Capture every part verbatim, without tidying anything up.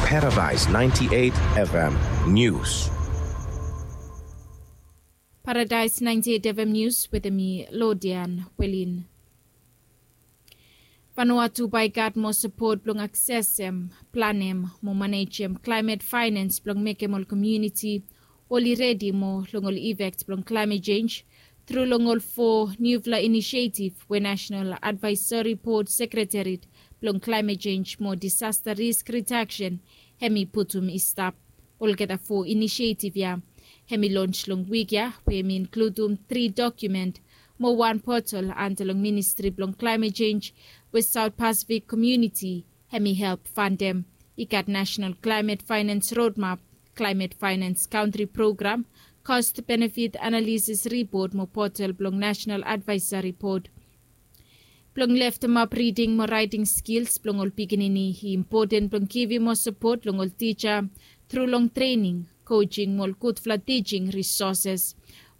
Paradise ninety-eight F M News. Paradise ninety-eight F M News wetem mi Lodian Welin. Vanuatu bae i gat moa sapot blong aksesem, planem mo manejem klaemet faenens blong mekem ol komuniti oli redi moa long ol ifek blong klaemet jenj tru long ol fo niufala inisietif we Nasenal Advaesori Bod Sekretariat blong Klaemet Jenj mo Disasta Risk Ridaksen hem i putum i stap. Olgeta fo inisietif ya hem i lons long wik ya we hem i inkludum tri dokumen mo wan potol anda long Ministri blong Klaemet Jenj we Saot Pasifik komuniti hem i help fandem. I gat Nasenal Klaemet Faenens Rodmap, Klaemet Faenens Kantri Program, Kost Benefit Analisis Ripot mo potol blong Nasenal Advaesori Bod. Blong leftemap riding mo raeting skils blong ol pikinini i impoten blong givim moa sapot long ol tija tru long trening, kojing mo ol gudfala tijing risoses.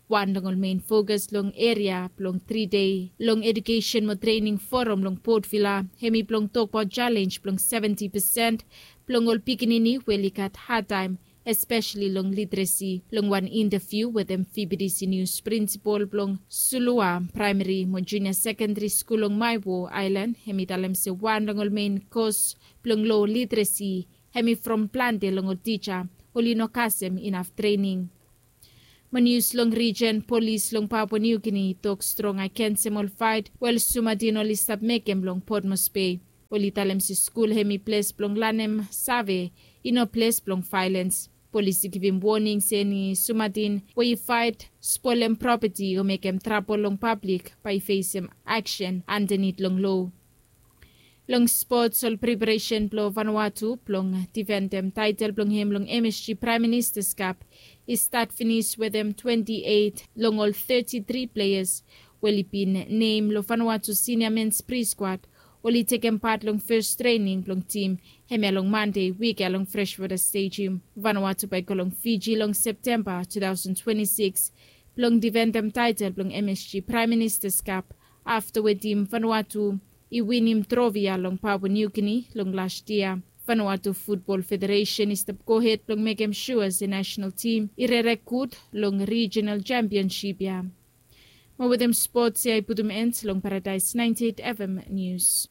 Wan long ol mein fokas long eria blong tri dei long edukesen mo trening foram long Port Vila hem i blong tokbaot jalenj blong seventi pesen blong ol pikinini we oli gat hadtaem, espeseli long literesi. Long wan intaviu wetem V B D C Nius, prinsipol blong Sulua Praemari mo Junia Sekendari Skul long Maewo Aelan hem i talem se wan long ol mein kos blong lo literesi hem i from plante long ol tija oli no kasem inaf trening. Mo nius long rijen, polis long Papua Niu Gini i tok strong agensem ol faet we ol sumadin oli stap mekem long Potmos Bei. Oli talem se skul hem i ples blong lanem save, i no ples blong vaelens. Polis i givim woning se eni sumadin we i faet, spolem propeti o mekem trabol long pablik bae i fesem aksen andanit long lo. Long spots, ol preparesen blong Vanuatu blong difendem taetel blong hem long M S G Praem Ministas Kap i stat finis wetem twenti eit long ol teti tri pleas we oli bin nem long Vanuatu Sinia Mens Pri Skwad oli tekem pat long fes trening blong tim hemia long Mande wik ya long Freshwater Stadium. Vanuatu bae i go long Fiji long Septemba tu taosen twenti sikis blong difendem taetel blong M S G Praem Ministas Kap afta we tim Vanuatu i winim trofi ya long Papua Niu Gini long las yia. Vanuatu Futbol Federesen i stap gohed blong mekem sua se nasenal tim i rere gud long rijinal jampionsip ya. Mo wetem spots ya i putum en long Paradaes naenti eit F M Nius.